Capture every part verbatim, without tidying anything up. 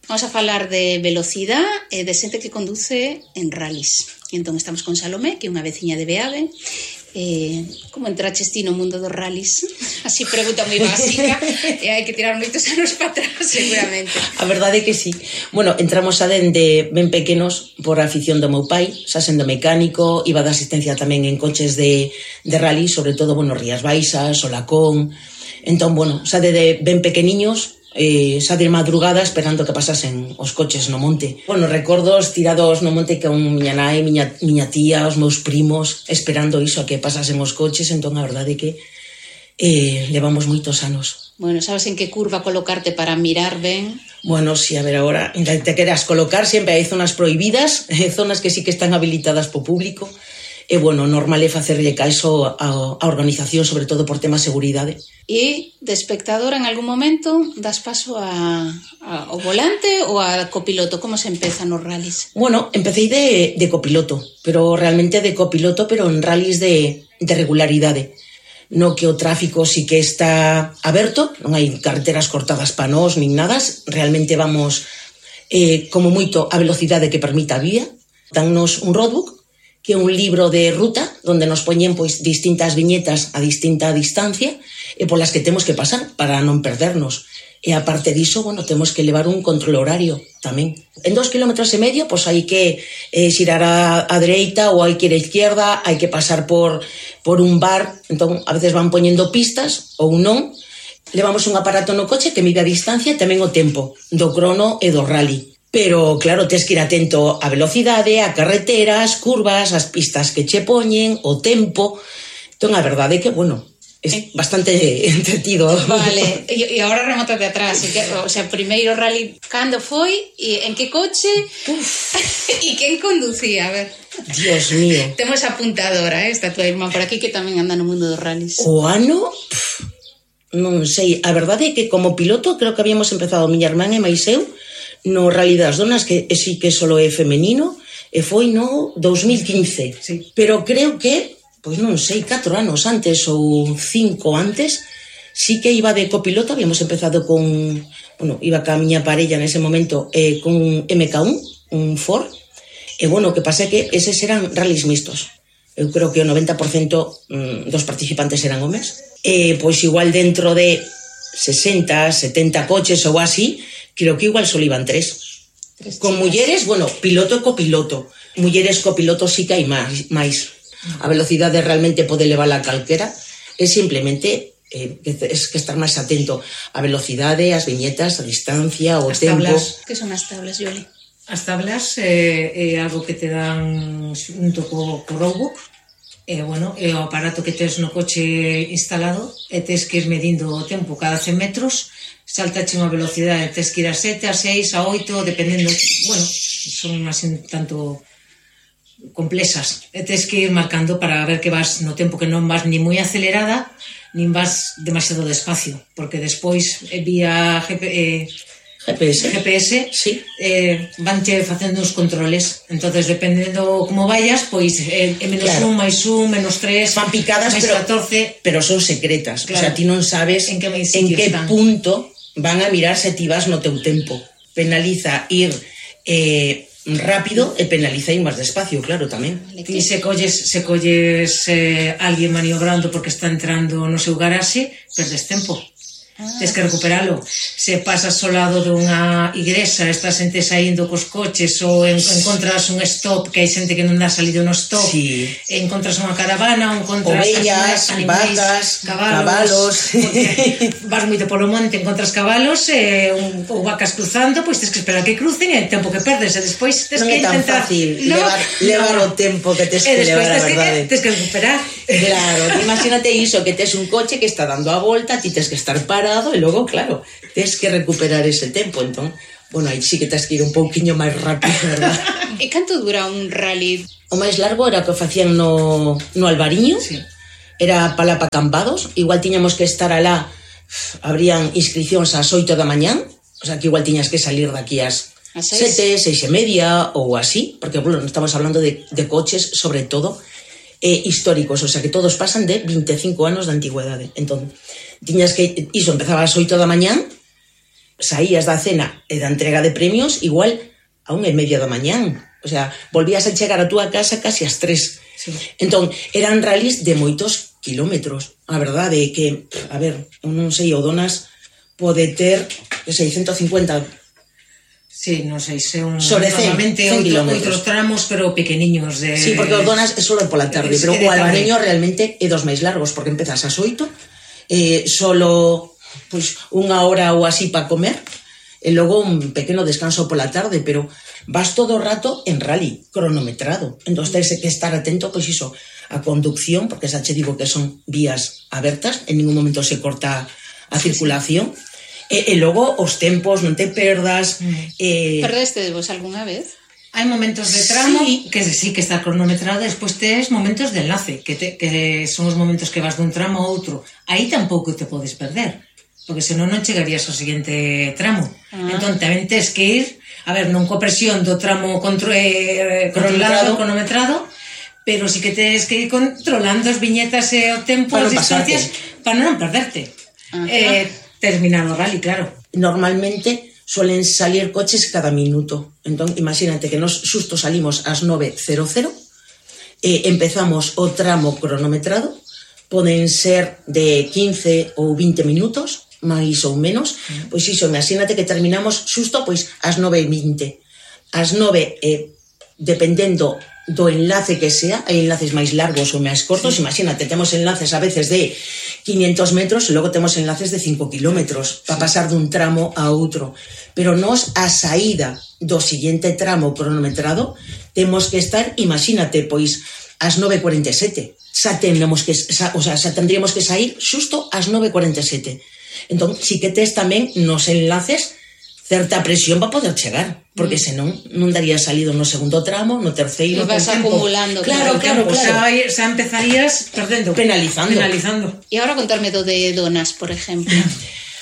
Vamos a falar de velocidade e de xente que conduce en rallies. E entón estamos con Salomé, que é unha veciña de Beade. Eh, como entraches ti no mundo dos rallies? Así pregunta moi básica e hai que tirar moitos anos para atrás, seguramente. A verdade é que sí. Bueno, entramos a dende ben pequenos por a afición do meu pai, xa sendo mecánico, iba de asistencia tamén en coches de, de rally, sobre todo, bueno, Rías Baixas, Solacón. Entón, bueno, xa de ben pequeniños, eh, xa de madrugada esperando que pasasen os coches no monte. Bueno, recordos tirados no monte con miña nai, miña, miña tía, os meus primos, esperando iso a que pasasen os coches. Entón, a verdade é que eh, levamos moitos anos. Bueno, sabes en que curva colocarte para mirar ben? Bueno, si, a ver, agora, te queras colocar, sempre hai zonas prohibidas, zonas que sí que están habilitadas po público. E, bueno, normal é facerlle caso a, a organización, sobre todo por tema de seguridade. E, de espectador, en algún momento das paso a, a, ao volante ou a copiloto? Como se empeza nos rallies? Bueno, empecé de, de copiloto, pero realmente de copiloto, pero en rallies de, de regularidade. No que o tráfico sí que está aberto, non hai carreteras cortadas pa nós, nin nada, realmente vamos eh, como moito a velocidade que permita a vía. Dannos un roadbook, que é un libro de ruta onde nos poñen pois distintas viñetas a distinta distancia e polas que temos que pasar para non perdernos. E aparte diso, bueno, temos que levar un control horario tamén. En dos kilómetros e medio, pois hai que eh, xirar a, a dereita ou hai que ir a izquierda, hai que pasar por, por un bar, entón a veces van poñendo pistas ou non. Levamos un aparato no coche que mide a distancia e tamén o tempo do crono e do rally. Pero, claro, tens que ir atento á velocidade, a carreteras, curvas, as pistas que che poñen, o tempo. Entón, a verdade é que, bueno, é bastante entretido. Vale, e, e agora remota de atrás. Que, o sea, primeiro rally, cando foi? E en que coche? E quen conducía? A ver. Dios mío. Temos apuntadora, eh? Está tua irmán por aquí que tamén anda no mundo dos rallies. O ano? Pff, non sei. A verdade é que como piloto creo que habíamos empezado miña irmán e máis eu no Rally das Donas, que sí que solo é femenino, e foi no dos mil quince. Sí. Pero creo que, pois non sei, catro anos antes ou cinco antes, sí que iba de copiloto, habíamos empezado con, bueno, iba ca miña parella nese momento eh, con un eme ka un, un Ford, e bueno, o que pasa é que eses eran rallies mixtos. Eu creo que o noventa por cento mm, dos participantes eran homes. E pois igual dentro de sesenta, setenta coches ou así, creo que igual só iban tres. tres Con mulleres, bueno, piloto e copiloto. Mulleres copiloto sí que hai máis. máis. A velocidade realmente pode levar a calquera. É simplemente eh, que es que estar máis atento á velocidade, ás viñetas, a distancia, o as tempo. Tablas. Que son as tablas, Yoli? As tablas é, é algo que te dan junto co, co roadbook. E, bueno, é o aparato que tes no coche instalado e tes que ir medindo o tempo cada cen metros, saltache unha velocidade, tes que ir a sete, a seis, a oito, dependendo, bueno, son así tanto complexas, e tes que ir marcando para ver que vas no tempo, que non vas ni moi acelerada, nin vas demasiado despacio, porque despois vía G P, eh, G P S, G P S sí. eh, vanche facendo uns controles, entonces dependendo como vayas, pois é eh, menos claro. un, máis un, menos tres, fan picadas, máis pero, catorce, pero son secretas, claro. O sea, ti non sabes en que, en que punto van a mirar se ti vas no teu tempo. Penaliza ir eh, rápido e penaliza ir máis despacio, claro, tamén. E se colles, se colles eh, alguén maniobrando porque está entrando no seu garaxe, perdes tempo. Ah. Tens que recuperalo. Se pasas ao lado dunha igrexa, estás ente saindo cos coches ou en, encontras un stop, que hai xente que non dá salido no stop, sí. Encontras unha caravana, encontras ovellas, animais, vacas, cabalos, cabalos. Vas moito polo monte, encontras cabalos eh, un, ou vacas cruzando, pois tens que esperar que crucen e o tempo que perdes, e despois tens non que intentar... Non é tan fácil no, levar, levar no. o tempo que tens que levar, a verdade. Tens que recuperar. Claro, imagínate iso, que tes un coche que está dando a volta, ti tens que estar parado e logo, claro, tens que recuperar ese tempo, entón, bueno, aí sí que tens que ir un pouquiño máis rápido, verdad? E canto dura un rally? O máis largo era o que facían no, no Albariño, sí. Era para pa Campados, igual tiñamos que estar alá, habrían inscripcións ás oito da mañán, o sea que igual tiñas que salir daqui ás sete, seis e media ou así, porque, bueno, estamos hablando de, de coches, sobre todo, eh, históricos, o sea que todos pasan de vinte e cinco anos de antigüedade. Entón, tiñas que, iso, empezaba ás oito da mañán saías da cena e da entrega de premios igual a unha e media da mañán. O sea, volvías a chegar a túa casa casi ás tres. Sí. Entón, eran rallies de moitos kilómetros. A verdade é que, a ver, eu non sei, o Donas pode ter, que sei, ciento cincuenta. Sí, non sei, se un... Sobre cen, cen kilómetros. Outros tramos, pero pequeniños de... Sí, porque o Donas é solo pola tarde, pero o Albariño realmente é dos máis largos, porque empezas ás oito, eh, solo pues, unha hora ou así para comer, e logo un pequeno descanso pola tarde, pero vas todo o rato en rally, cronometrado. Entón, tens que estar atento, pois iso, a conducción, porque xa che digo que son vías abertas, en ningún momento se corta a circulación, e, e logo os tempos, non te perdas. Eh... Perdeste vos algunha vez? Hai momentos de tramo sí. que sí que está cronometrado, despois tes momentos de enlace, que, te, que son os momentos que vas dun tramo a outro. Aí tampouco te podes perder, porque senón non chegarías ao seguinte tramo. Ah. Entón tamén tes que ir, a ver, non co presión do tramo contro, eh, controlado, cronometrado, pero sí que tes que ir controlando as viñetas e o tempo, as distancias, para non perderte. Eh, terminar o rally, claro. Normalmente suelen salir coches cada minuto. Entón, imagínate que nos xusto salimos ás nove cero cero, eh, empezamos o tramo cronometrado, poden ser de quince ou vinte minutos, máis ou menos, pois iso, imagínate que terminamos xusto pois ás nove e vinte. Ás nove, eh, dependendo do enlace que sea, hai enlaces máis largos ou máis cortos, sí. Imagínate, temos enlaces a veces de quinientos metros e logo temos enlaces de cinco kilómetros para pasar dun tramo a outro. Pero nos a saída do seguinte tramo cronometrado temos que estar, imagínate, pois ás nove e cuarenta e sete. Xa tenemos que, xa, o sea, xa tendríamos que sair xusto ás nove e cuarenta e sete. Entón, si que tes tamén nos enlaces certa presión para poder chegar, porque mm. senón non daría salido no segundo tramo, no terceiro, no vas acumulando. Claro, claro, claro. Xa, xa empezarías perdendo. Penalizando. Penalizando. E agora contarme do de Donas, por exemplo.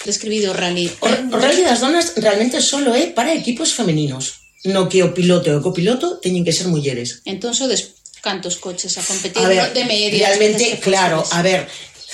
Describido o rally. O, o rally das Donas realmente solo é para equipos femeninos, no que o piloto e o copiloto teñen que ser mulleres. Entón, sodes cantos coches a competir a ver, de media? Realmente, claro, a ver...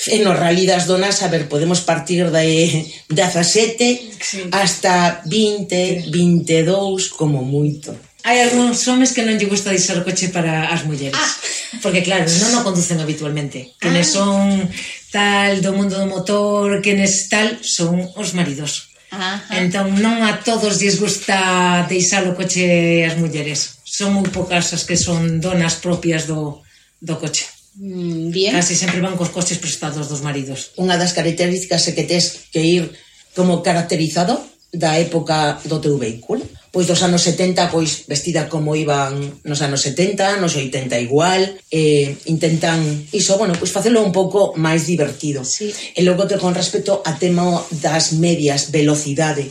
En o rally das Donas, a ver, podemos partir de dezasete sí. hasta vinte, veintidós, como moito. Hai algúns homes que non lle gusta deixar o coche para as mulleres. Ah. Porque, claro, non o conducen habitualmente. Quenes ah. son tal do mundo do motor, quenes tal, son os maridos. Ajá. Entón, non a todos lles gusta deixar o coche as mulleres. Son moi poucas as que son donas propias do, do coche. Bien. Casi sempre van cos coches prestados dos maridos. Unha das características é que tes que ir como caracterizado da época do teu vehículo. Pois dos anos setenta, pois vestida como iban nos anos setenta, nos oitenta igual, eh, intentan iso, bueno, pois facelo un pouco máis divertido. Sí. E logo que con respecto a tema das medias velocidade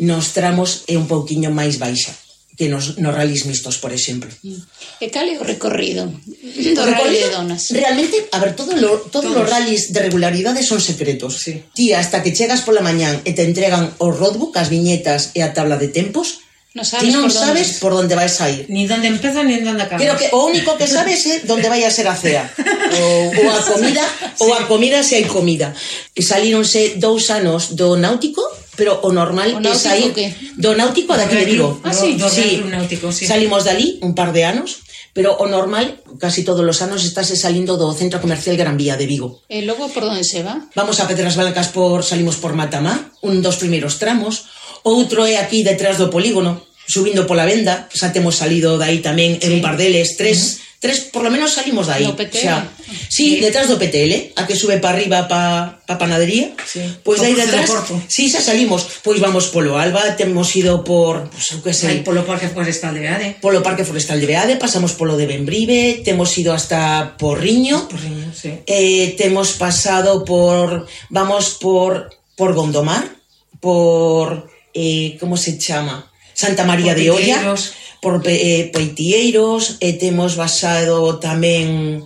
nos tramos é un pouquiño máis baixa que nos, nos rallies mixtos, por exemplo. E cal é o recorrido do o rally de Donas? Realmente, a ver, todo lo, todos, todos os rallies de regularidade son secretos. Sí. Ti, hasta que chegas pola mañán e te entregan o roadbook, as viñetas e a tabla de tempos, no sabes ti non por sabes donde... por onde vais a ir. Ni onde empeza, ni onde acaba. Creo que o único que sabes é onde vai a ser a cea. ou, ou a comida, sí. ou a comida se hai comida. E salíronse dous anos do náutico, pero o normal é sair do náutico daqui de Vigo. Ah, sí, do, do sí. náutico, sí. Salimos dali un par de anos, pero o normal, casi todos os anos, estás salindo do Centro Comercial Gran Vía de Vigo. E logo por onde se va? Vamos a Pedras Blancas, por salimos por Matamá, un dos primeiros tramos. Outro é aquí detrás do polígono, subindo pola Venda, xa temos salido dai tamén en sí. un par deles, tres... Uh-huh. Tres, por lo menos salimos de aí. No P T L? Xa, sí, sí, detrás do P T L, a que sube para arriba pa, pa panadería. Sí. Pois pues aí detrás, sí, xa salimos. Pois vamos polo Alba, temos ido por, pues, que sei, polo Parque Forestal de Beade. Polo Parque Forestal de Beade, pasamos polo de Benbrive, temos ido hasta Porriño. Porriño, sí. Eh, temos pasado por, vamos por por Gondomar, por eh, como se chama? Santa María por de Olla. Por eh, Peitieiros, e temos basado tamén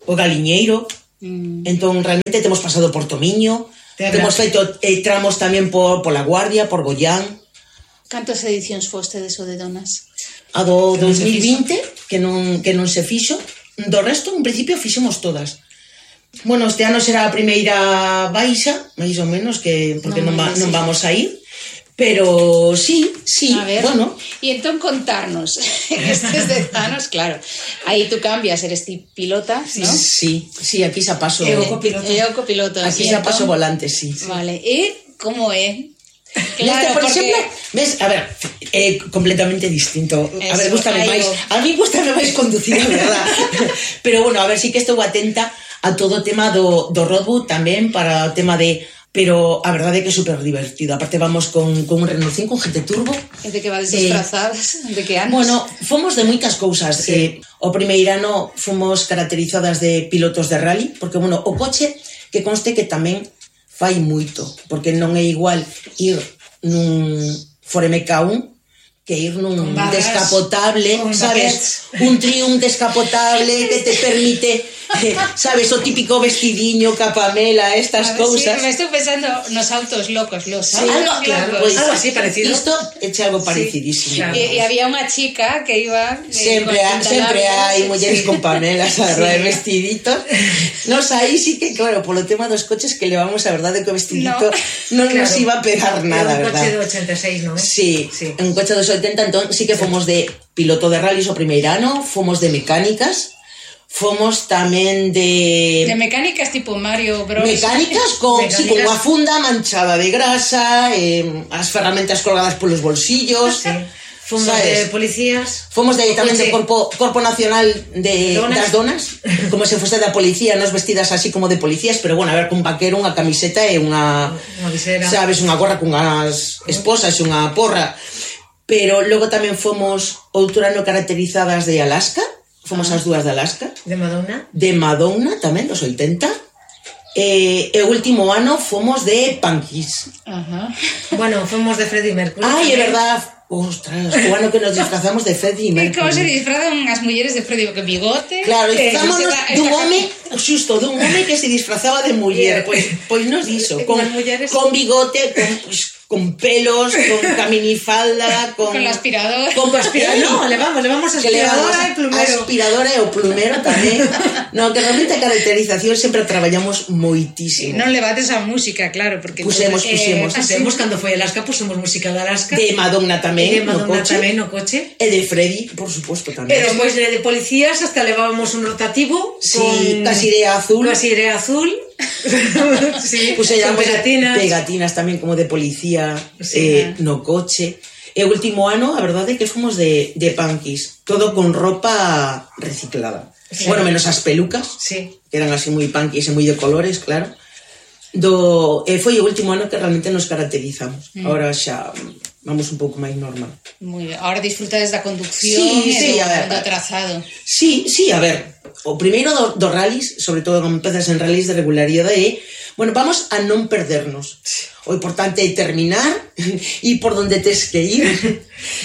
o Galiñeiro, mm. entón realmente temos pasado por Tomiño, temos feito eh, tramos tamén por, por La Guardia, por Goián. Cantas edicións foste deso de Donas? A do dos mil vinte, que non, que non se fixo, do resto, en principio, fixemos todas. Bueno, este ano será a primeira baixa, máis ou menos, que porque non, non, va, non vamos a ir, Pero sí, sí, a ver, bueno. E entón contarnos, en estes dez anos, claro, aí tú cambias, eres ti pilota, Sí, ¿no? sí, sí, aquí xa paso. E o copiloto. E o copiloto. Aquí E xa entón- paso volante, sí. Vale, e como é? Neste, por porque- exemplo, ves, a ver, é completamente distinto. A Eso, ver, gústame aí máis. vou. A mí gústame máis conducir, a verdad. Pero bueno, a ver, sí que estou atenta a todo o tema do, do roadbook tamén para o tema de... Pero a verdade é que é super divertido. Aparte vamos con, con un Renault cinco, un G T Turbo. E de que vades Eh, disfrazadas? De que anos? Bueno, fomos de moitas cousas. Sí. Eh, o primeiro ano fomos caracterizadas de pilotos de rally, porque, bueno, o coche que conste que tamén fai moito, porque non é igual ir nun Ford M K uno que ir nun Con barras, descapotable, con sabes? Un Triumph descapotable que te permite, eh, sabes, o típico vestidiño, capamela, estas A ver, cousas. Sí, me estou pensando nos autos locos, los Sí, autos algo, claro, locos. pues, Algo así parecido. Isto eche algo parecidísimo. claro. E, e había unha chica que iba... eh, Sempre, con ha, sempre pantalones. hai mulleres con pamelas, a verdade, vestiditos. Nos aí sí que, claro, polo tema dos coches que levamos, a verdade, que o vestidito non Claro. nos iba a pegar nada, Era un coche verdad? do ochenta e seis, non é? Sí, Sí. un coche dos oitenta, entón sí que fomos de piloto de rallies o primeiro ano, fomos de mecánicas, fomos tamén de... De mecánicas tipo Mario Bros. Mecánicas con, sí, con Mecánicas. unha funda manchada de grasa, eh, as ferramentas colgadas polos bolsillos. Sí. Fomos sabes? de policías. Fomos de, O tamén coche- de Corpo, Corpo Nacional de, Donas. das Donas, como se fose da policía, nos vestidas así como de policías, pero bueno, a ver, cun vaquero, unha camiseta e unha... Unha visera. Sabes, unha gorra cunhas esposas e unha porra. Pero logo tamén fomos outro ano caracterizadas de Alaska, fomos as dúas de Alaska, De Madonna. de Madonna tamén, dos oitenta, e, e o último ano fomos de Punkies. Ajá. Bueno, fomos de Freddie Mercury. Ai, é tamén. verdad, ostras, o ano que nos disfrazamos de Freddie E Mercury. como se disfrazan as mulleres de Freddie que bigote? Claro, eh, disfrazámonos esta- dun esta- home, xusto, dun home que se disfrazaba de muller, pois, pois nos iso, con, As mulleres- con bigote, con, pues, con pelos, con caminifalda, con... Con la aspiradora. Con Aspira- no, levamos, levamos que levamos aspiradora e plumero. aspiradora e o plumero tamén. No, que realmente a caracterización sempre a traballamos moitísimo. Non levates a música, claro, porque... Pusemos, entonces, puxemos. Eh, Pusemos, cando foi Alaska, pusemos música de Alaska. De Madonna tamén, E de no Madonna coche. tamén no coche. E de Freddy, por suposto, tamén. E despois de, de policías hasta levábamos un rotativo Sí, con casi de azul. Casi de azul. Sí, Puse con pegatinas. pegatinas tamén como de policía, Sí. eh, no coche. E o último ano, a verdade é que fomos de, de punkies, todo con ropa reciclada. Sí. Bueno, menos as pelucas, Sí. que eran así moi punkies e moi de colores, claro. Do, e foi o último ano que realmente nos caracterizamos. Mm. Ahora xa vamos un pouco máis normal. Moi ben. Ahora disfrutades da conducción Sí, e sí, do, a ver, do trazado. Sí, sí, a ver, o primeiro do, do rallies, sobre todo cando empezas en rallies de regularidade, é, bueno, vamos a non perdernos. O importante é terminar e por donde tes que ir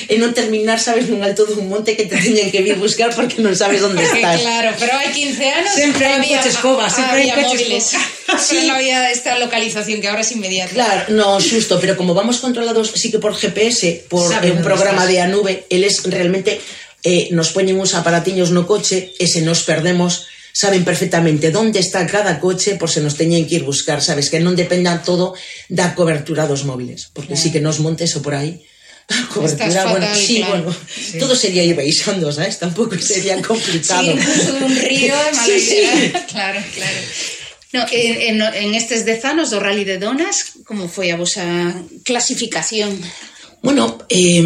e non terminar, sabes, nun alto dun monte que te teñen que vir buscar porque non sabes onde Porque, estás. claro, pero hai quince anos Sempre non hai un había, coche escoba, sempre hai había coche móviles. escoba. Sí. Non había esta localización que ahora es inmediata. Claro, no, xusto, pero como vamos controlados sí que por G P S, por Saben eh, un onde programa estás. de a nube, eles realmente eh, nos poñen uns aparatiños no coche e se nos perdemos saben perfectamente onde está cada coche por se nos teñen que ir buscar, sabes, que non dependa todo da cobertura dos móviles, porque Claro. sí que nos montes o por aí a cobertura, Estás bueno, fatal, sí, claro. bueno, Sí. todo sería ir baixando, sabes, tampouco sería complicado. Sí, incluso un río de Sí, sí. Claro, claro. No, en, en, en estes dez anos do Rally de Donas, como foi a vosa clasificación? Bueno, eh,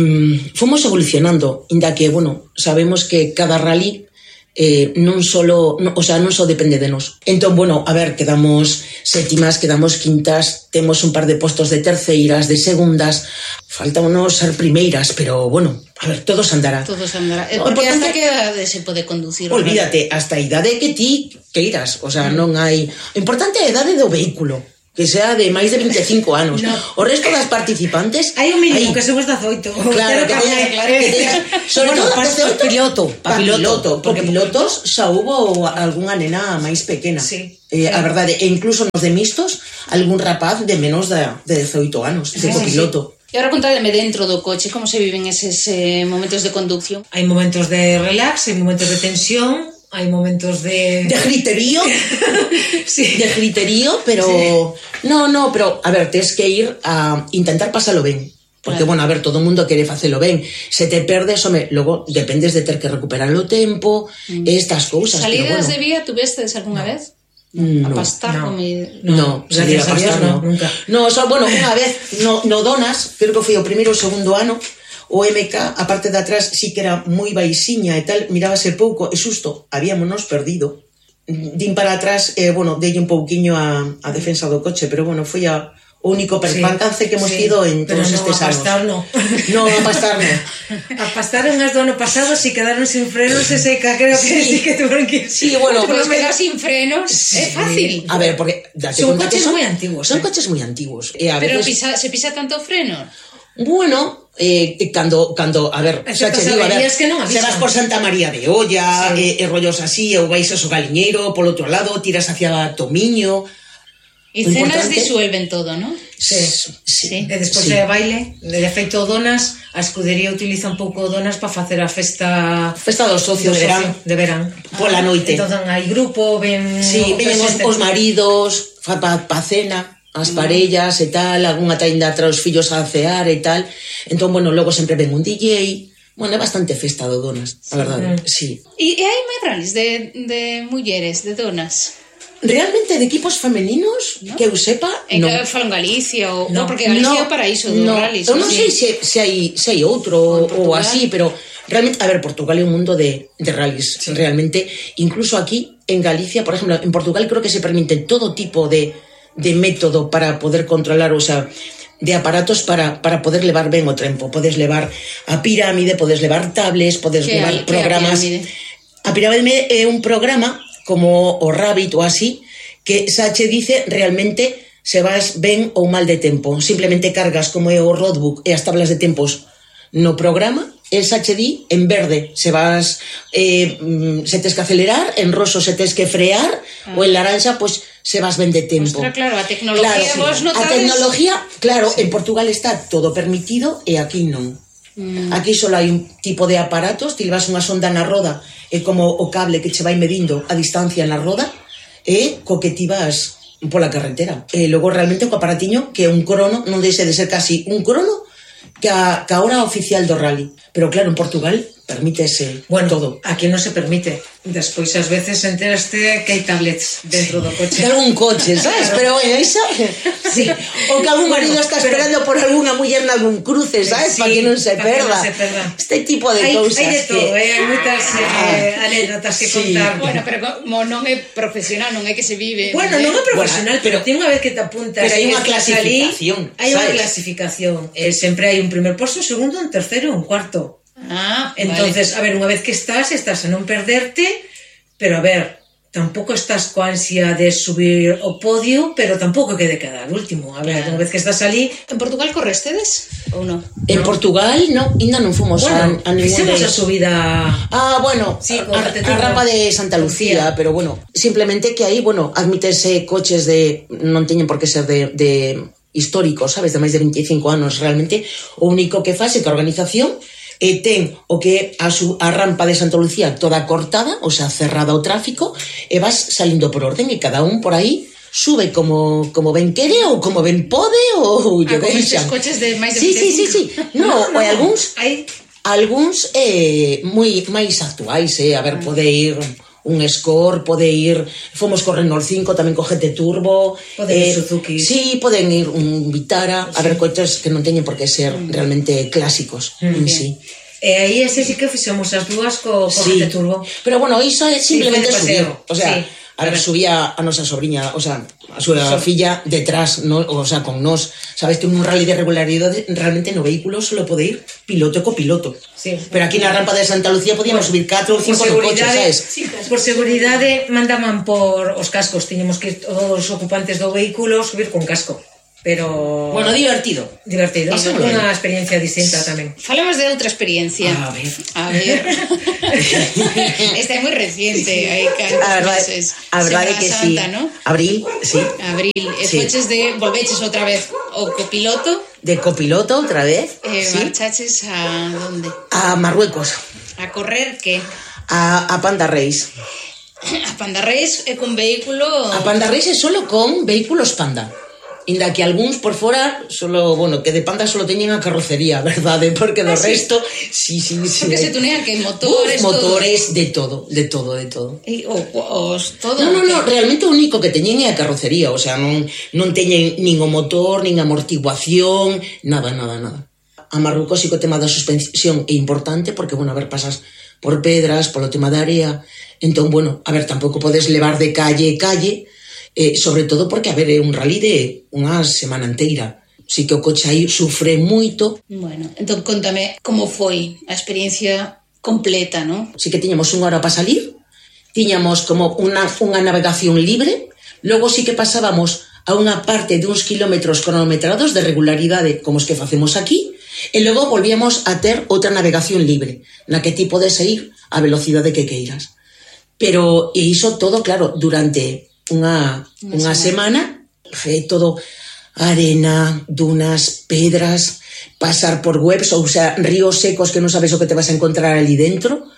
fomos evolucionando, inda que, bueno, sabemos que cada rally eh, non solo, no, o sea, non só depende de nós. Entón, bueno, a ver, quedamos sétimas, quedamos quintas, temos un par de postos de terceiras, de segundas, faltámonos ser primeiras, pero, bueno, a ver, todos andará. Todos andará. Eh, No, Porque hasta importante- que edade se pode conducir? o Olvídate, hasta a idade que ti queiras, o sea, non hai... O importante é a idade do vehículo, que sea de máis de vinte e cinco anos. No. O resto das participantes... Hai un mínimo hai- que somos dezoito. Claro, que teña, claro. que teña, sobre Bueno, todo pa- dezoito, pa piloto, pa pa piloto, piloto, porque porque pilotos xa hubo algunha nena máis pequena. Sí. Eh, Sí. a verdade, e incluso nos de mixtos, algún rapaz de menos de, de dezoito anos, de Sí, sí, copiloto. E agora contádeme dentro do coche, como se viven eses eh, momentos de conducción? Hai momentos de relax, hai momentos de tensión, hai momentos de... De griterío, Sí. de griterío, pero... No, no, pero, a ver, tens que ir a intentar pasalo ben. Porque, claro, bueno, a ver, todo o mundo quere facelo ben. Se te perdes, home, logo dependes de ter que recuperar o tempo, mm. estas cousas. Salidas pero, bueno, de vía, tuvestes alguna no. vez? No. A pastar no. como... No, no, salir a pastar, no. Nunca. No, só, bueno, unha vez, no, no Donas, creo que foi o primeiro ou segundo ano, o M K, a parte de atrás, sí que era moi baixiña e tal, mirábase pouco, e susto, habíamonos perdido. Din para atrás, eh, bueno, dei un pouquiño a, a defensa do coche, pero bueno, foi a... o único percance sí, que hemos sí, tido en todos no, estes anos. Pero non a pastar, non. Non, a pastar, non. A pastar unhas do ano pasado, si quedaron sin frenos, e seca, creo que sí, sí que tuvieron que ir. Sí, bueno, pero quedar sin frenos sí. É fácil. A ver, porque... Son coches moi antiguos. Son eh? coches moi antiguos. E a pero veces... pisa, se pisa tanto freno? Bueno, eh, cando, cando, a ver, xa che digo, a ver, que non se vas por Santa María de Olla, sí, e, e rollos así, ou vais a so Galiñeiro, polo outro lado, tiras hacia Tomiño... E cenas disuelven todo, non? Sí, sí, sí. E despois sí. de baile, de feito Donas, a escudería utiliza un pouco Donas para facer a festa... Festa dos socios de verán. De verán. Pola noite. Entón hai grupo, ven... Sí, ven os, os maridos, fa pa, pa cena, as parellas e tal, algunha tainda tra os fillos a cear e tal. Entón, bueno, logo sempre ven un D J... Bueno, é bastante festa do Donas, a verdade, mm. sí. E, e hai máis rallies de, de mulleres, de Donas? Realmente de equipos femeninos, ¿no? Que eu sepa, en non. Que falo en Galicia, ou, no, porque Galicia é no, o paraíso dos no, rallies. Eu non sei se, se, hai, se hai outro ou así, pero realmente, a ver, Portugal é un mundo de, de rallies, sí. Realmente, incluso aquí, en Galicia, por ejemplo, en Portugal creo que se permite todo tipo de, de método para poder controlar, o sea, de aparatos para, para poder levar ben o tempo. Podes levar a pirámide, podes levar tablets, podes levar hay, programas... A pirámide é un programa como o Rabbit ou así, que xa che dice realmente se vas ben ou mal de tempo. Simplemente cargas como é o roadbook e as tablas de tempos no programa, el xa che di en verde se vas eh, se tes que acelerar, en roso se tes que frear, ah. ou en laranxa pois se vas ben de tempo. Ostra, claro, a tecnología claro, vos notades... A tecnología, claro, sí. En Portugal está todo permitido e aquí non. Mm. Aquí só hai un tipo de aparatos, ti levas unha sonda na roda e como o cable que che vai medindo a distancia na roda e co que ti vas pola carretera. E logo realmente o aparatiño que é un crono, non deixe de ser casi un crono que a, que a hora oficial do rally. Pero claro, en Portugal permítese bueno, todo. Aquí non se permite. Despois ás veces enteraste que hai tablets dentro do coche. De algún coche, sabes? Claro. Pero bueno, iso... Sí. O que algún marido está esperando pero... por algunha muller nalgún cruce, sabes? Sí, para que non se perda. No se perda. Este tipo de hai, cousas. Hai de todo, que... eh? Hai moitas eh, anécdotas que sí. Contar. Bueno, pero como non é profesional, non é que se vive... Bueno, non é profesional, bueno, pero, pero ten unha vez que te apuntas... Pero hai unha clasificación, Hai unha clasificación. Eh, sempre hai un primer posto, un segundo, un terceiro, un cuarto. Ah, entonces, vale. A ver, unha vez que estás, estás a non perderte, pero a ver, tampouco estás coa ansia de subir o podio, pero tampouco que de quedar último. A ver, claro. Unha vez que estás ali... En Portugal correstedes ou non? En no. Portugal, non, ainda non fomos bueno, a, a ningún fixemos de... a subida... Ah, bueno, sí, a, a rampa de Santa Lucía, pero bueno, simplemente que aí, bueno, admítese coches de... non teñen por que ser de... de históricos, sabes, de máis de veinticinco anos realmente. O único que faz é que a organización e ten o que a, su, a rampa de Santa Lucía toda cortada, o sea, cerrada ao tráfico, e vas salindo por orden e cada un por aí sube como, como ben quere ou como ben pode ou yo que xa. Coches de máis de sí, sí, sí, sí. No, no, ou algúns hai algúns eh, moi máis actuais, eh, a ver, pode ir un Score, pode ir, fomos con Renault cinco, tamén con G T Turbo, pode ir eh, Suzuki. Sí, poden ir un Vitara, sí. A ver, coches que non teñen por que ser mm. realmente clásicos, mm. Sí. E aí ese sí que fixemos as dúas co, co sí. G T Turbo. Pero bueno, iso é simplemente sí, subir, o sea, sí. A ver, subía a nosa sobriña, o sea, a súa so. filla detrás, no, o sea, con nós. Sabes que un rally de regularidade realmente no vehículo solo pode ir piloto e copiloto. Sí. Pero aquí na rampa de Santa Lucía podíamos bueno, subir catro ou cinco coches, sabes? Sí, por seguridade mandaban por os cascos, tiñamos que os ocupantes do vehículo subir con casco. Pero... Bueno, divertido. Divertido, é unha experiencia distinta tamén. Falamos de outra experiencia. A ver. A ver. Esta é moi reciente, hai cantos meses. A verdade que sí. ¿No? Abril, sí. Abril. E sí. Foches de... Volveches outra vez o copiloto. De copiloto outra vez. Eh, sí. Marchaches a donde? A Marruecos. A correr que? A, a Panda Race. A Panda Race é con vehículo... A Panda Race é solo con vehículos Panda. Inda que algúns por fora solo, bueno, que de Panda solo teñen a carrocería, verdade? Porque do ah, sí? resto, sí, sí, sí. Porque se tunean que motores, Uf, motores, todo. de todo, de todo, de todo. E, o, os todo. No, no, no, realmente o único que teñen é a carrocería, o sea, non non teñen nin o motor, nin amortiguación, nada, nada, nada. A Marrucos sí que o tema da suspensión é importante porque, bueno, a ver, pasas por pedras, polo tema da área, entón, bueno, a ver, tampouco podes levar de calle calle. Eh, sobre todo porque, a ver, é un rally de unha semana inteira. Si que o coche aí sufre moito. Bueno, entón contame como foi a experiencia completa, non? Si que tiñamos unha hora para salir, tiñamos como unha, unha navegación libre, logo si que pasábamos a unha parte de uns kilómetros cronometrados de regularidade como os que facemos aquí, e logo volvíamos a ter outra navegación libre, na que ti podes ir a velocidade que queiras. Pero, e iso todo, claro, durante unha, unha semana, fe todo arena, dunas, pedras, pasar por webs, ou sea, ríos secos que non sabes o que te vas a encontrar ali dentro.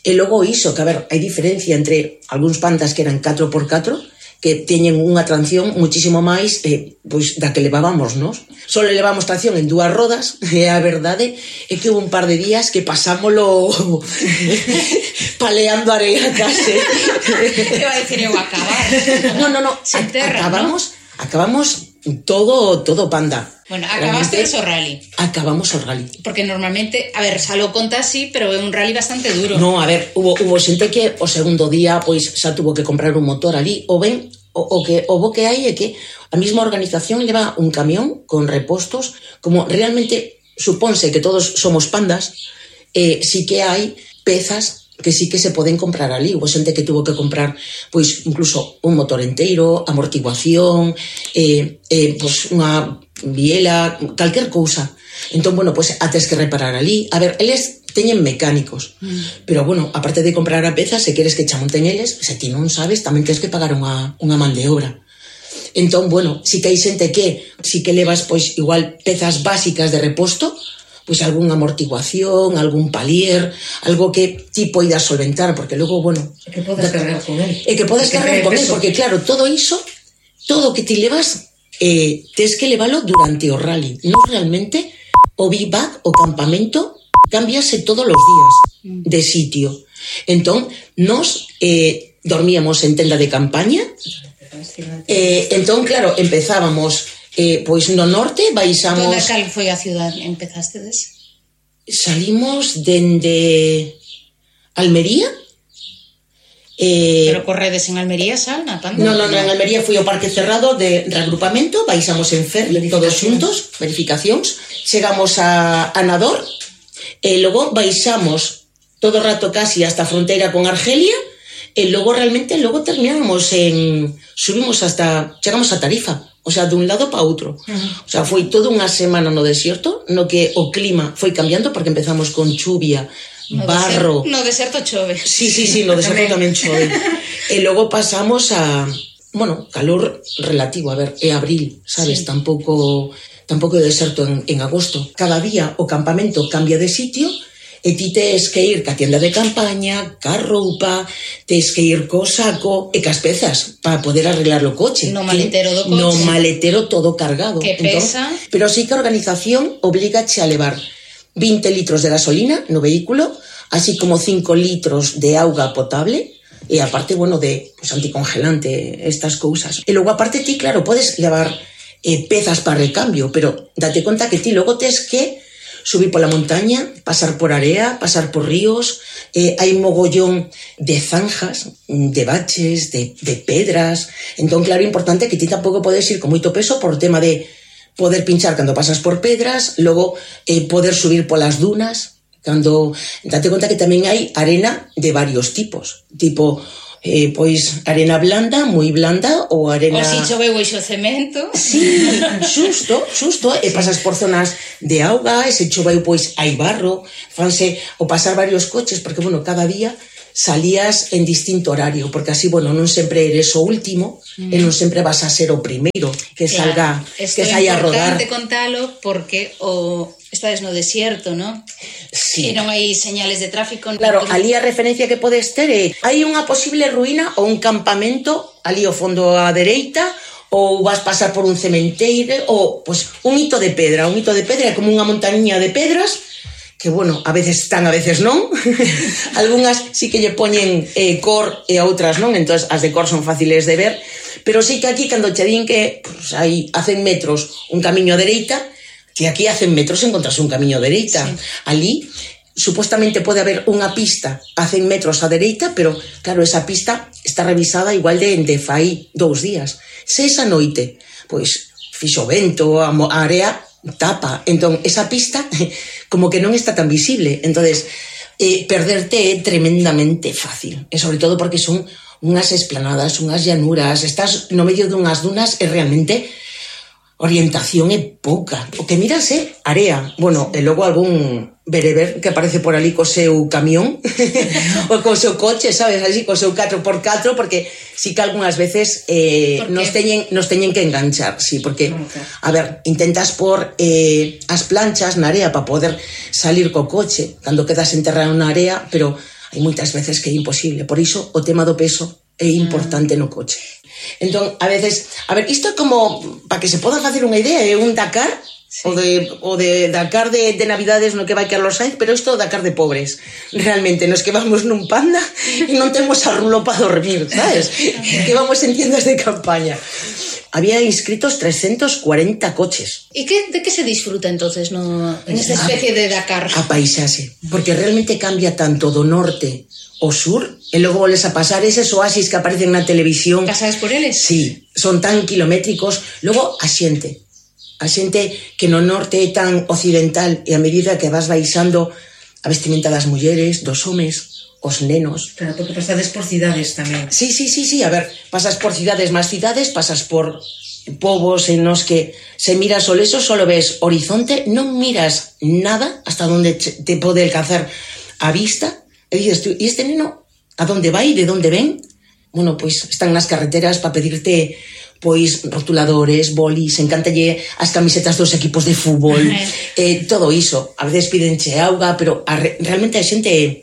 E logo iso, que a ver, hai diferencia entre algúns pandas que eran catro por catro, que teñen unha tracción muchísimo máis eh, pois da que levábamos, nos? Só levamos tracción en dúas rodas, e a verdade é que hubo un par de días que pasámolo paleando area case. Te va a decir eu acabar. No, no, no, a, terra, acabamos, ¿no? acabamos todo, todo Panda. Bueno, acabaste o rally. Acabamos o rally. Porque normalmente, a ver, xa lo conta así, pero é un rally bastante duro. No, a ver, hubo, hubo xente que o segundo día pois xa tuvo que comprar un motor ali, ou ben, o, o que o bo que hai é que a mesma organización leva un camión con repostos, como realmente supónse que todos somos pandas, eh, sí que hai pezas que sí que se poden comprar ali. Hubo xente que tuvo que comprar pois incluso un motor enteiro, amortiguación, eh, eh, pois unha biela, calquer cousa. Entón, bueno, pois a tes que reparar ali. A ver, eles teñen mecánicos, mm. pero bueno, aparte de comprar a peza, se queres que cha monten eles, se ti non sabes, tamén tens que pagar unha, unha man de obra. Entón, bueno, si que hai xente que si que levas pois igual pezas básicas de reposto, pois algunha amortiguación, algún palier, algo que ti poidas solventar, porque logo, bueno... E que podes cargar con él. E que podes cargar con él, porque claro, todo iso, todo o que ti levas, eh, tes que leválo durante o rally. Non realmente, o bivac, o campamento, cambiase todos os días de sitio. Entón, nos eh, dormíamos en tenda de campaña, eh, entón, claro, empezábamos... Eh, pois no norte baixamos... Toda cal foi a ciudad empezastedes? Salimos dende Almería. Eh, Pero corredes en Almería, Sal, na Panda? No, no, no, en Almería foi o parque cerrado de reagrupamento, baixamos en ferry todos xuntos, verificacións, chegamos a, a Nador, e logo baixamos todo o rato casi hasta a fronteira con Argelia, e logo realmente logo terminamos en... subimos hasta... chegamos a Tarifa. O sea, dun lado para outro. Uh-huh. O sea, foi toda unha semana no desierto, no que o clima foi cambiando, porque empezamos con chuvia, no barro... Deserto, no deserto chove. Sí, sí, sí, no deserto tamén chove. E logo pasamos a... Bueno, calor relativo, a ver, é abril, sabes? Sí. Tampouco, tampouco é deserto en, en agosto. Cada día o campamento cambia de sitio, e ti tes que ir ca tienda de campaña, ca roupa, tes que ir co saco e cas pezas para poder arreglar o coche. No maletero do coche. No maletero todo cargado. Que pesa. Entón, pero sí que a organización obligache a levar vinte litros de gasolina no vehículo, así como cinco litros de auga potable, e aparte, bueno, de pues, anticongelante, estas cousas. E logo aparte ti, claro, podes levar eh, pezas para recambio, pero date conta que ti logo tes que subir pola montaña, pasar por area, pasar por ríos, eh, hai mogollón de zanjas, de baches, de, de pedras. Entón, claro, é importante que ti tampouco podes ir con moito peso por tema de poder pinchar cando pasas por pedras, logo eh, poder subir polas dunas, cando date conta que tamén hai arena de varios tipos, tipo eh, pois arena blanda, moi blanda, ou arena... O si choveu e xo cemento. Sí, xusto, xusto, e pasas por zonas de auga, e se choveu pois hai barro, fanse o pasar varios coches, porque, bueno, cada día salías en distinto horario, porque así, bueno, non sempre eres o último, mm. e non sempre vas a ser o primeiro que claro, salga, que saia a rodar. É importante contalo porque o estades no desierto, non? Sí. E non hai señales de tráfico. Claro, ali a referencia que podes ter é hai unha posible ruína ou un campamento ali ao fondo á dereita ou vas pasar por un cementeiro, ou pues, un hito de pedra. Un hito de pedra é como unha montaña de pedras que, bueno, a veces están, a veces non. Algúnas sí que lle poñen eh, cor e a outras non, entón as de cor son fáciles de ver, pero sí que aquí, cando che din que pues, hai a cen metros un camiño a dereita, que aquí a cen metros encontras un camiño a dereita. Sí. Ali, supuestamente pode haber unha pista a cen metros a dereita, pero, claro, esa pista está revisada igual de, de fai dous días. Se esa noite, pois, fixo vento, a area tapa, entón esa pista como que non está tan visible, entonces eh, perderte é tremendamente fácil, e sobre todo porque son unhas esplanadas, unhas llanuras, estás no medio dunhas dunas e realmente orientación é pouca, o que miras é area, bueno, e logo algún bereber que aparece por ali co seu camión ou co seu coche, sabes, así, co seu catro por catro, porque sí que algunhas veces eh, nos, teñen, nos teñen que enganchar, sí, porque, a ver, intentas por eh, as planchas na area para poder salir co coche cando quedas enterrado na area, pero hai moitas veces que é imposible, por iso o tema do peso é importante no coche. Entón, a veces, a ver, isto é como, para que se poda facer unha idea, é un Dakar, sí. o, de, o de Dakar de, de Navidades no que vai Carlos Sainz, pero isto é o Dakar de pobres. Realmente, nos que vamos nun Panda e non temos a rulo para dormir, sabes? Que vamos en tiendas de campaña. Había inscritos trescentos cuarenta coches. E que, de que se disfruta entonces no, en esta especie de Dakar? A paisaxe, porque realmente cambia tanto do norte ao sur, e logo voles a pasar eses oasis que aparecen na televisión. Casades por eles? Sí, son tan kilométricos. Logo, a xente. A xente que no norte é tan occidental, e a medida que vas baixando a vestimenta das mulleres, dos homes, os nenos. Claro, porque pasades por cidades tamén. Sí, sí, sí, sí, a ver, pasas por cidades máis cidades, pasas por povos en los que se miras o leso, solo ves horizonte, non miras nada hasta donde te pode alcanzar a vista. E dices tú, e este neno, a donde vai, de donde ven? Bueno, pois están nas carreteras para pedirte pois rotuladores, bolis, encántalle as camisetas dos equipos de fútbol, eh, todo iso. A veces pídenche auga, pero a re, realmente a xente é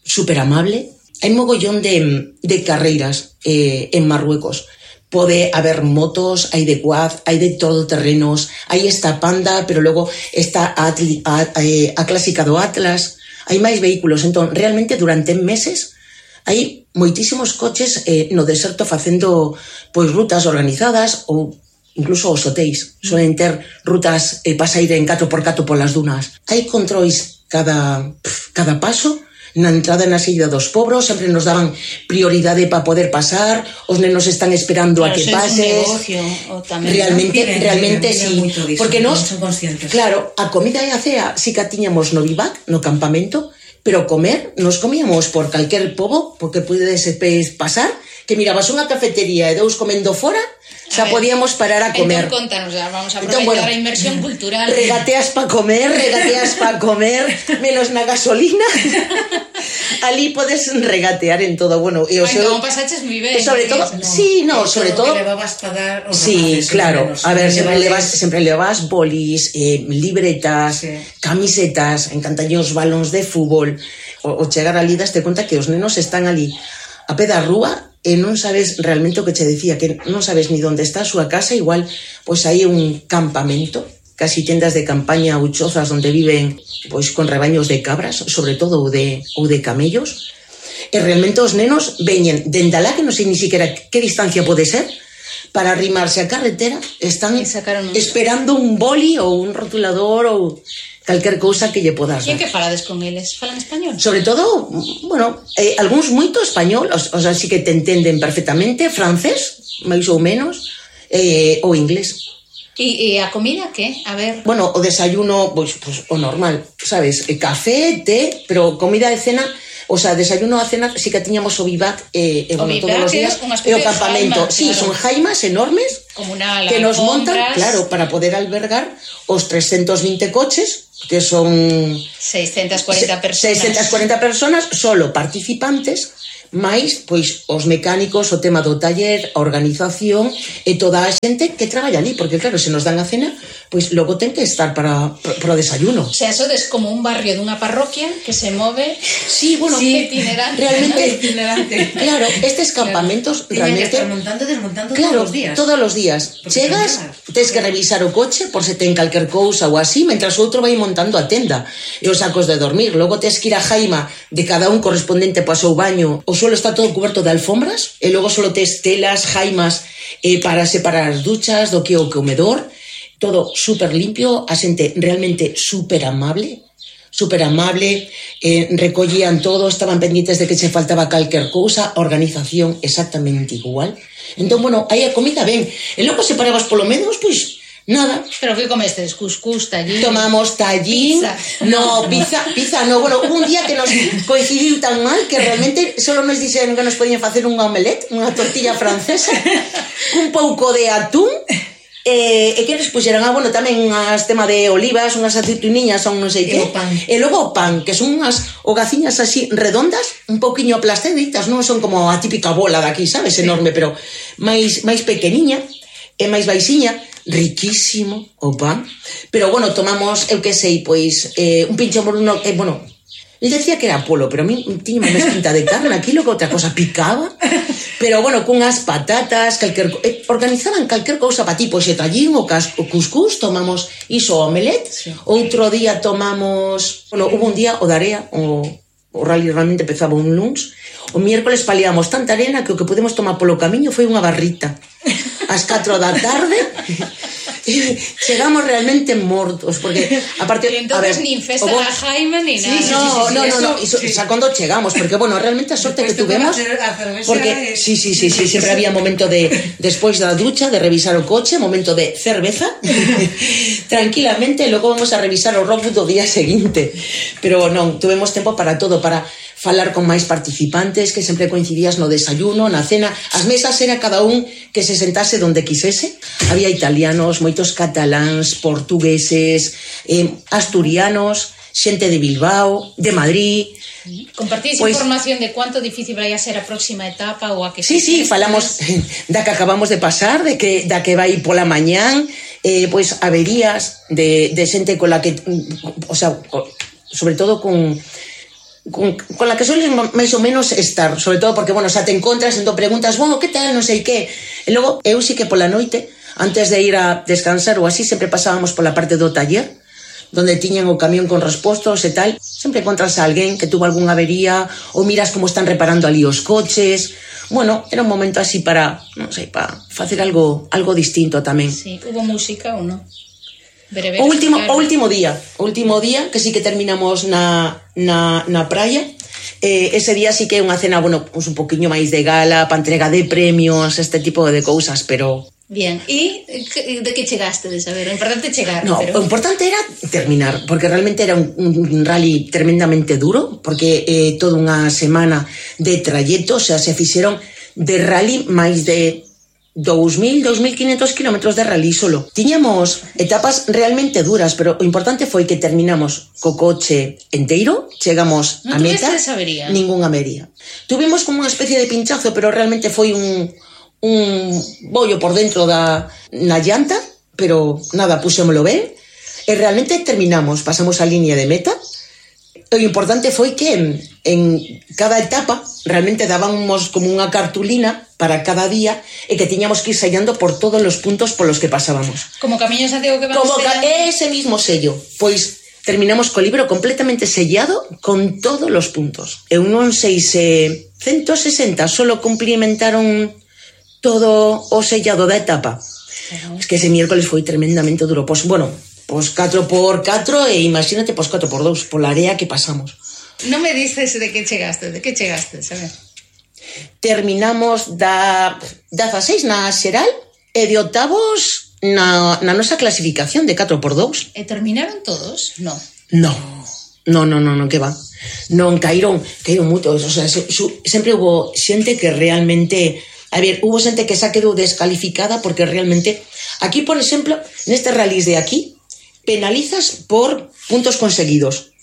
super amable. Hai mogollón de, de carreiras eh, en Marruecos. Pode haber motos, hai de quad, hai de todo terrenos, hai esta Panda, pero logo está a, a, a clásica do Atlas. Hai máis vehículos, entón, realmente durante meses hai moitísimos coches eh, no deserto facendo pois rutas organizadas ou incluso os hotéis suelen ter rutas eh, para sair en catro por catro polas dunas. Hai controis cada, pf, cada paso na entrada e na saída dos pobros, sempre nos daban prioridade para poder pasar, os nenos están esperando claro, a que pases. Negocio, o tamén, realmente, ¿no? realmente tienen, sí, tienen porque nos, claro, a comida e a cea sí que tiñamos no bivac, no campamento, pero comer, nos comíamos por calquer pobo, porque pudedes pasar, que mirabas unha cafetería e dous comendo fora, xa podíamos parar a comer. Entón, contanos, ya, vamos a aproveitar entón, bueno, a inmersión cultural. Regateas pa comer, regateas pa comer, menos na gasolina. Ali podes regatear en todo, bueno, e o Ai, seu... como pasaches moi ben. E sobre todo, no. sí, no, e sobre todo... que levabas para dar os sí, rapaces, claro, menos, a ver, sempre levas, levas... sempre levas bolis, eh, libretas, sí. Camisetas, encantalle os balóns de fútbol. O, o chegar ali daste conta que os nenos están ali a pé da rúa e non sabes realmente o que che decía, que non sabes ni onde está a súa casa, igual pois hai un campamento, casi tendas de campaña ou chozas onde viven pois con rebaños de cabras, sobre todo ou de, ou de camellos, e realmente os nenos veñen dende alá, que non sei ni siquiera que distancia pode ser, para arrimarse a carretera, están esperando un boli ou un rotulador ou calquer cousa que lle podas dar. E en que falades con eles? Falan español? Sobre todo, bueno, eh, algúns moito español, o, o sea, sí que te entenden perfectamente, francés, máis ou menos, eh, ou inglés. E, e a comida, que? A ver... Bueno, o desayuno, pois, pues, o normal, sabes, e café, té, pero comida de cena... O sea, desayuno a cena sí que tiñamos o bivac eh, e, bueno, todos os días e o campamento. Jaimas, sí, claro. Son jaimas enormes comunal, que nos montan, claro, para poder albergar os trescentos veinte coches, que son seiscientas cuarenta personas. seiscientas cuarenta personas, solo participantes, máis, pois, os mecánicos, o tema do taller, a organización e toda a xente que traballa ali, porque claro, se nos dan a cena, pois logo ten que estar para, para o desayuno. O sea, eso es como un barrio dunha parroquia que se move. Sí, bueno, sí, itinerante. Realmente, itinerante. Claro, estes campamentos claro. realmente... Tiñan que estar montando e desmontando claro, todos os días. todos os días. Porque Chegas, tens que revisar o coche por se ten calquer cousa ou así, mentras outro vai montando a tenda e os sacos de dormir. Logo tes que ir a jaima de cada un correspondente para o seu baño. O suelo está todo cuberto de alfombras e logo solo tes telas, jaimas eh, para separar as duchas do que o comedor. Todo super limpio, a xente realmente super amable, super amable, eh, recollían todo, estaban pendientes de que se faltaba calquer cousa, organización exactamente igual. Entón, bueno, aí a comida ben, e logo se parabas polo menos, pois, nada. Pero que comestes? Cuscús, tallín? Tomamos tallín. Pizza. No, pizza, pizza no. Bueno, hubo un día que nos coincidiu tan mal que realmente solo nos dixeron que nos podían facer un omelette, unha tortilla francesa, un pouco de atún, e, e que nos puxeran, ah, bueno, tamén unhas tema de olivas, unhas aceituniñas, son non sei que. E o pan. E logo o pan, que son unhas hogaciñas así redondas, un pouquiño aplastaditas, non son como a típica bola daqui, sabes, enorme, pero máis máis pequeniña e máis baixiña. Riquísimo o pan, pero bueno, tomamos, eu que sei, pois eh, un pincho moruno, eh, bueno, él decía que era polo, pero a mí tiña máis pinta de carne, aquí lo que outra cosa picaba, pero bueno, cunhas patatas, calquer, eh, organizaban calquer cousa para ti, pois e tallín, o, cas, o cuscús, tomamos iso omelette, sí. Outro día tomamos, bueno, hubo un día o de area, o, o rally realmente empezaba un luns, o miércoles paliamos tanta arena que o que podemos tomar polo camiño foi unha barrita. Ás catro da tarde chegamos realmente mortos porque aparte, y entonces a ver, nin festa vos... da Jaime ni nada. Sí, sí, no, sí, sí, no, no, no, iso, sí. Xa cando chegamos, porque bueno, realmente a sorte que tuvemos, porque sí, sí, sí, sí, sempre había momento de despois da ducha, de revisar o coche, momento de cerveza, tranquilamente, logo vamos a revisar o rockbook do día seguinte. Pero non, tuvemos tempo para todo, para falar con máis participantes, que sempre coincidías no desayuno, na cena. As mesas era cada un que se sentase donde quisese. Había italianos, moitos cataláns, portugueses, eh, asturianos, xente de Bilbao, de Madrid. Compartís pues, información de cuánto difícil vai a ser a próxima etapa ou a que... Sí, sí, falamos da que acabamos de pasar, de que da que vai pola mañán, eh, pois averías de, de xente con la que, o sea, sobre todo con... Con, con la que sueles máis ou menos estar, sobre todo porque, bueno, xa te encontras, entón preguntas, bueno, que tal, non sei que, e logo, eu sí que pola noite, antes de ir a descansar ou así, sempre pasábamos pola parte do taller, donde tiñan o camión con respostos e tal, sempre encontras a alguén que tuvo algunha avería, ou miras como están reparando ali os coches. Bueno, era un momento así para, non sei, para facer algo, algo distinto tamén. Sí, hubo música ou non? O último, o último día, o último día que sí que terminamos na, na, na praia, eh, ese día sí que é unha cena, bueno, pues un poquinho máis de gala, pa entrega de premios, este tipo de cousas, pero... Bien, e de que chegaste de saber? O importante chegar, no, pero... o importante era terminar, porque realmente era un, un rally tremendamente duro, porque eh, toda unha semana de trayecto, o sea, se fixeron de rally máis de... dous mil, dous mil quinhentos kilómetros de rally solo. Tiñamos etapas realmente duras, pero o importante foi que terminamos co coche enteiro, chegamos a meta, avería? Ninguna avería. Tuvimos como unha especie de pinchazo, pero realmente foi un, un bollo por dentro da na llanta, pero nada, puxémolo ben, e realmente terminamos, pasamos a línea de meta. O importante foi que en, en cada etapa realmente dábamos como unha cartulina para cada día e que tiñamos que ir sellando por todos os puntos polos que pasábamos. Como Camiño Santiago que van como sellando? Ese mismo sello. Pois terminamos co libro completamente sellado con todos os puntos. Eu non sei se ciento sesenta solo cumplimentaron todo o sellado da etapa. Uh-huh. Es que ese miércoles foi tremendamente duro. Pois, bueno... Pois catro por catro e imagínate, pois catro por dous, pola área que pasamos. Non me dices de que chegaste, de que chegaste, sabes? Terminamos da dezaseis na xeral e de octavos na, na nosa clasificación de catro por dous. E terminaron todos? No. No, no, no, no, no, que va. Non, caíron, caíron moitos, o sea, su, su, sempre hubo xente que realmente... A ver, hubo xente que xa quedou descalificada porque realmente... Aquí, por exemplo, neste rallies de aquí... penalizas por puntos conseguidos.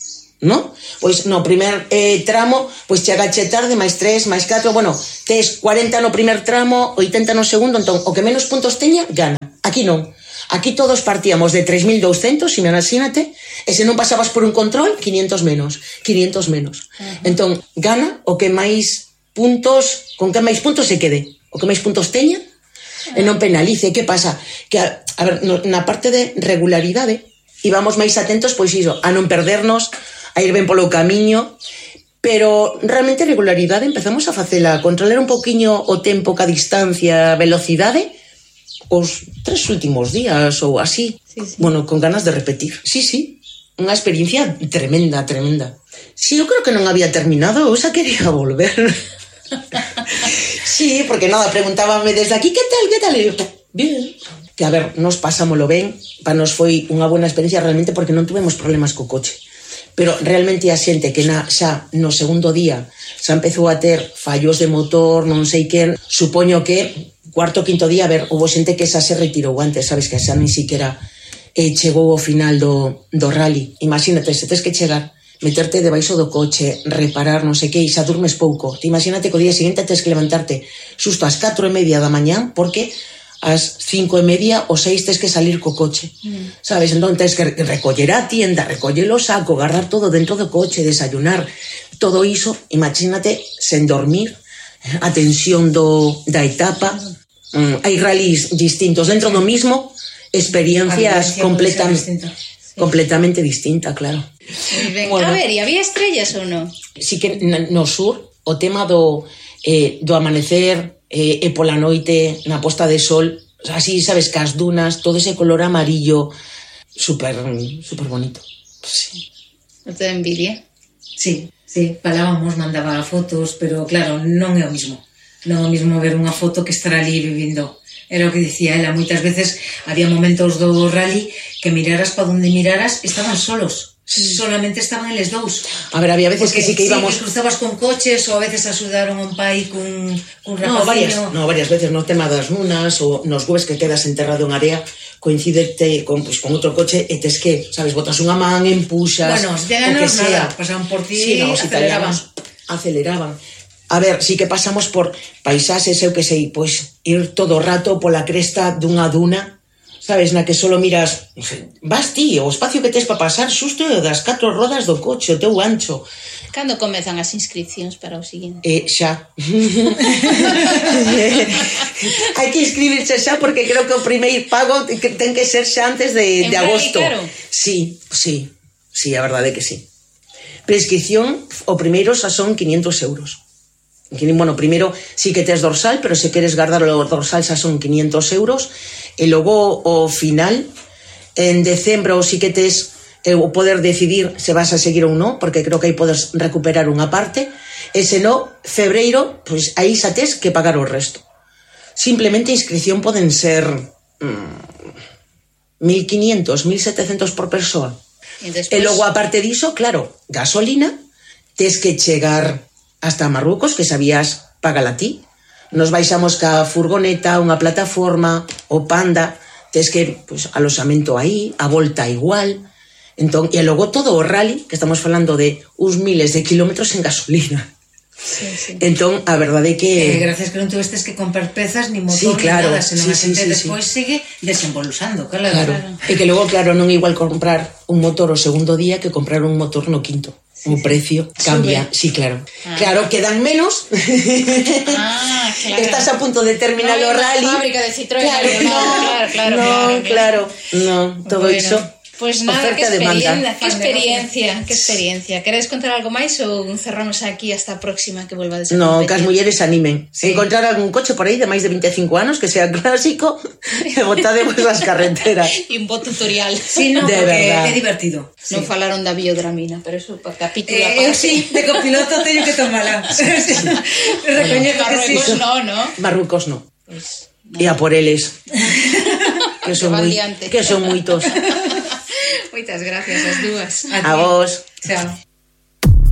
non? Pois no primer eh, tramo, pois chegache tarde, máis tres, máis catro, bueno, tes cuarenta no primer tramo, oitenta no segundo, entón, o que menos puntos teña, gana. Aquí non. Aquí todos partíamos de tres mil douscentos, imagínate, e se non pasabas por un control, quinientos menos, quinientos menos. Uh-huh. Entón, gana o que máis puntos, con que máis puntos se quede, o que máis puntos teña, uh-huh. e non penalice. Que pasa? Que, a, a ver, no, na parte de regularidade, íbamos máis atentos, pois iso, a non perdernos, a ir ben polo camiño, pero realmente regularidade empezamos a facela, a controlar un poquinho o tempo, ca distancia, a velocidade, os tres últimos días ou así, sí, sí. Bueno, con ganas de repetir. Sí, sí, unha experiencia tremenda, tremenda. Sí, eu creo que non había terminado, eu xa quería volver. Sí, porque nada, preguntábame desde aquí, que tal, que tal? E eu, bien. Que a ver, nos pasámolo ben, para nos foi unha buena experiencia realmente porque non tuvemos problemas co coche. Pero realmente a xente que na, xa no segundo día xa empezou a ter fallos de motor, non sei quen, supoño que cuarto, quinto día, a ver, houve xente que xa se retirou antes, sabes, que xa nin siquiera eh, chegou ao final do, do rally. Imagínate, se tes que chegar, meterte debaixo do coche, reparar, non sei que, e xa durmes pouco. Te imagínate que o día seguinte tes que levantarte xusto ás catro e media da mañán, porque ás cinco e media ou seis tes que salir co coche, mm. sabes? Entón tens que recoller a tienda, recoller o saco, guardar todo dentro do coche, desayunar, todo iso, imagínate, sen dormir, a tensión do, da etapa. Mm, hai rallies distintos dentro do mismo, experiencias completamente, sí. completamente distinta, claro. Bueno, a ver, e había estrellas ou non? Sí que no sur, o tema do, eh, do amanecer eh, e pola noite na posta de sol, así, sabes, cas dunas, todo ese color amarillo, super, super bonito. Sí. Non te da envidia? Sí, sí, falábamos, mandaba fotos, pero claro, non é o mismo. Non é o mismo ver unha foto que estar ali vivindo. Era o que dicía ela, moitas veces había momentos do rally que miraras pa onde miraras, estaban solos. Sí. Solamente estaban eles dous. A ver, había veces porque, que sí que íbamos... Sí, que cruzabas con coches ou a veces axudaron un pai cun, cun rapaciño. No, varias, no, varias veces no tema das lunas ou nos gues que quedas enterrado en area, coincidete con, pues, con outro coche e tes que, sabes, botas unha man, empuxas, bueno, si o que sea. Nada, pasaban por ti, sí, no, aceleraban. Aceleraban. A ver, sí que pasamos por paisaxes, eu que sei, pois ir todo o rato pola cresta dunha duna, sabes, na que solo miras, vas ti, o espacio que tes para pasar xusto das catro rodas do coche, o teu ancho. Cando comezan as inscripcións para o seguinte? Eh, xa. Hai que inscribirse xa porque creo que o primeiro pago ten que ser xa antes de, de agosto. Claro? Sí, sí, sí, a verdade é que sí. Prescripción, o primeiro xa son quinientos euros. Bueno, primeiro sí que tes dorsal, pero se queres guardar o dorsal xa son quinientos euros. E logo o final, en decembro sí que tes o poder decidir se vas a seguir ou non, porque creo que aí podes recuperar unha parte. E se non, febreiro, pois aí xa tes que pagar o resto. Simplemente a inscripción poden ser mmm, mil quinientos, mil setecentos por persoa. E, después... e logo, aparte diso, claro, gasolina, tes que chegar hasta Marrucos, que sabías pagala ti. Nos baixamos ca furgoneta, unha plataforma, o Panda, tes que, pues, aloxamento aí, a volta igual. Entón, e logo todo o rally, que estamos falando de uns miles de kilómetros en gasolina. Sí, sí. Entón, a verdade é que... Eh, gracias que non tuvestes que comprar pezas, ni motor, sí, claro, ni nada, senón sí, a xente sí, sí, despois sí. sigue desembolusando, claro. Claro. claro. E que logo, claro, non é igual comprar un motor o segundo día que comprar un motor no quinto. Sí, o precio sí. cambia, Sube. sí, claro. Ah. Claro, quedan menos. Ah, claro. Estás a punto de terminar no, o rally. No, fábrica de Citroën. Claro, no, claro, claro, no, claro, claro. No, todo bueno. iso. Pues nada, qué experiencia, qué experiencia, qué experiencia. ¿Queréis contar algo máis ou cerramos aquí hasta a próxima que vuelva a competir? No, que as mulleres animen. Sí. Encontrar algún coche por aí de máis de veinticinco anos que sea clásico e botademos as carreteras. E un bo tutorial. Sí, no, de verdad. É divertido. Non sí. falaron da biodramina, pero eso para capítulo eh, aparte. Eu sí, de copiloto teño que tomala. Recoñezo que sí. Marruecos no, ¿no? Marruecos no. Pues, no. E a por eles. que son moi, que son moitos. Moitas gracias as dúas. A, a vos. Chao.